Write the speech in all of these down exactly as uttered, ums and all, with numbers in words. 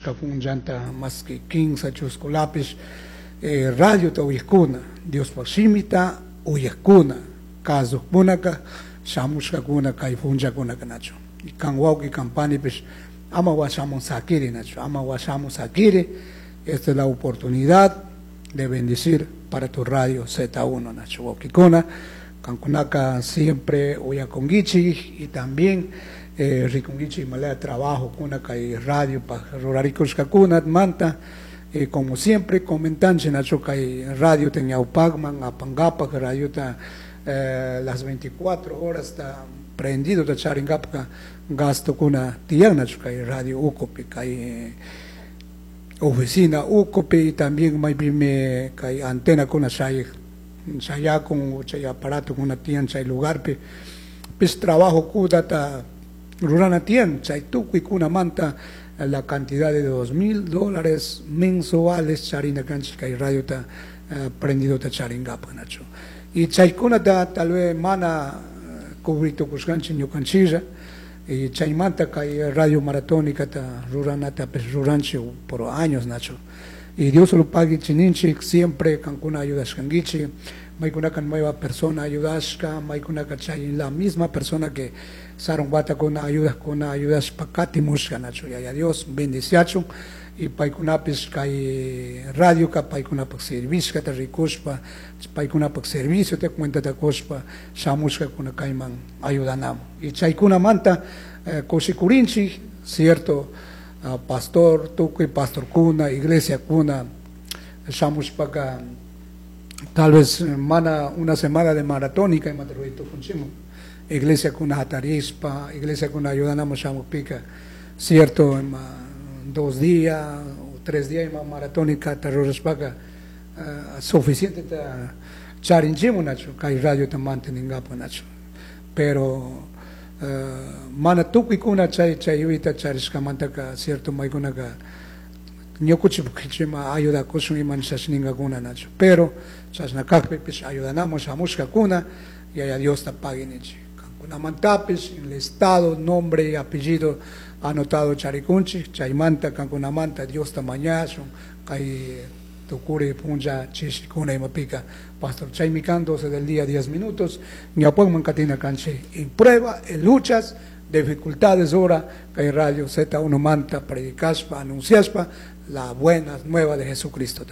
Shamushka punllanta maski kinsa chuskullapish eh, radiota uyakuna, Diospaj shimita uyakuna, kazukkunaka shamushkakuna kay punllakunaka, nachu? Y kan wawki, kan panipish, ama washamun sakiri, nachu? Ama washamun sakiri. Esta es la oportunidad de bendecir para tu radio Z uno, nachu, wawkikuna? Kankunaka siempre uyakunguichik y también eh, rikunguichik imalaya trabajo kuna kay radio pa rurarikushkakuna manta. eh, como siempre comentanchik, nachu, kay radio ta ñawpakman apangapak, radiota eh, las veinticuatro horas está prendido ta charingapaka gasto kuna tiyan, nachu, kay radio ukupi, kay eh, oficina ukupi, y también maypimi kay antena kuna chay chayakun, chay aparato kuna tiyan chay lugarpi pis trabajo kunata rurana tiyan. Chay tukuy kunamanta la cantidad de dos mil dólares mensuales charina kanchik kay radiota uh, prendido ta charingapa, nachu? Y chaykunata tal vez mana cubrir tukushkanchik ñukanchilla, y chaymanta kay radio maratónica ta ruranata pues ruranchik por años, nachu? Y Dios lo pague chininchik siempre kankuna ayudashkanguichik. Maykunaka nueva persona ayudashka, maykunaka chay la misma persona que sarun watakuna ayudakuna ayudashpa katimushka, nachu? Yaya Dios bendiciachun y paykunapis kay radioka paykunapak servishkata rikushpa, paykunapak servicio te cuentata kushpa shamushkakuna kayman ayudanamun. Y chaykunamanta eh, kushikurinchik, cierto, uh, pastor, tukuy pastorkuna, iglesiakuna shamushpaka tal vez mana una semana de maratónica imata ruray tukunchikman, iglesiakuna hatarishpa, iglesiakuna ayudanamun shamukpika, cierto, ima dos días o tres días ima maratónica rurashpaka uh, suficiente ta charinchimun, nachu, kay radiota manteningapa, nachu? Pero uh, mana tukuykuna chay chay yuyayta charishkamantaka, cierto, maykunaka ñukuchik ima ayudakushun ima nishas ningakuna, nachu? Pero chashna kakpipish ayudanamun shamushkakuna, Yaya Diosta pagui ninchik kankunamantapish. En el estado nombre y apellido anotado charikunchik, chaymanta kankunamanta Diosta mañashun kay tukuri punlla chishikuna imapika. Pastor, chaymi kan, doce del día diez minutos. Ñawpakman katina kanchik en prueba, en luchas, dificultades hora kay radio Z uno manta predicashpa, anunciashpa la buena nueva de Jesucristo.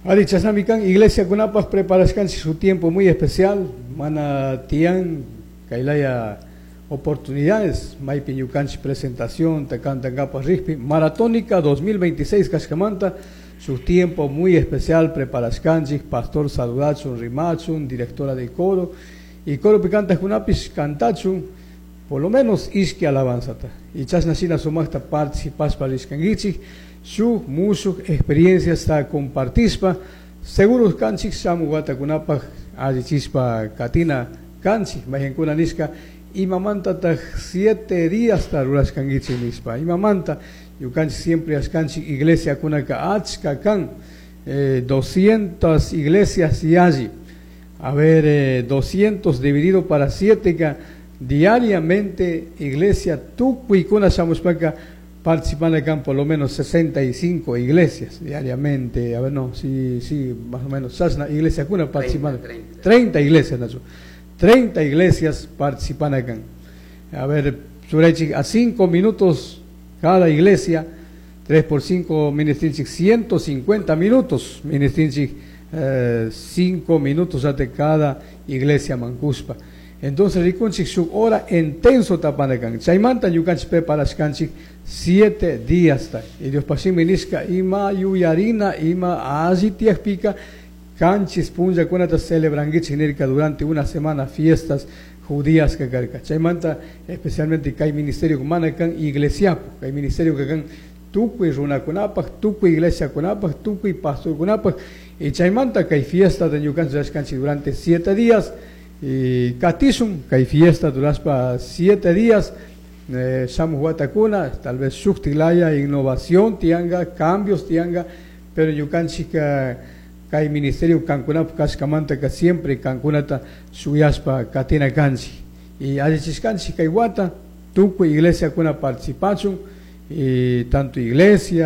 Ari, chashnami kan, iglesiakunapak preparashkanchik su tiempo muy especial, mana tiyan kaylaya oportunidades, maypi ñukanchik presentación, ta cantangapak rikpi, Maratónica dos mil veintiséis kashkamanta, su tiempo muy especial preparashkanchik, pastor saludachun, rimachun, directora de coro, y coro cantaqkunapish cantachun, por lo menos ishki alabanzata. Y chashna shina sumaqta participashpa rishkankichik, shuk mushuk experienciasta compartishpa, seguros kanchik shamu watakunapaj allichishpa katina kanchik. Mayqankuna nishka imamantataq siete días ta rurashkankichik nishpa, imamanta ñukanchik siempre ashkanchik iglesiakunaka achka kan, eh, doscientas iglesias yalli. A ver, eh, doscientos dividido para siete ka diariamente iglesia tukuykuna shamushpaka participan acá por lo menos sesenta y cinco iglesias diariamente. A ver, no, sí, sí, más o menos. Chashna iglesiakuna participan. treinta. treinta iglesias, nachu. treinta iglesias participan acá. A ver, a cinco minutos cada iglesia, tres por cinco, ministrinchik, ciento cincuenta minutos, ministrinchik, cinco minutos ante cada iglesia mankuspa. Entonces, rikunchik shuk hora intenso tapanakan. Chaymanta ñukanchik preparashkanchik siete días ta. Y Diospaj shimi nishka ima yuyarina ima alli tiyakpika qanchis punllakunata celebranguichik nirka, durante una semana fiestas judías que karka. Chaymanta especialmente kay ministerio mana kan iglesiapu, kay ministerio que kan tukuy runakunapaj, tukuy iglesiakunapaj, tukuy pastorkunapaj. Y chaymanta kay fiesta de ñukanchik rurashkanchik durante siete días y katishun kay fiesta durashpa siete días eh, shamuj watakuna, tal vez shuktik laya innovación tianga, cambios tianga, pero ñukanchik kay ministerio kankunapaj kashkamanta ka siempre kankunata shuyashpa katina kanchik y allichishkanchik kay wata tukuy iglesiakuna participachun y tanto iglesia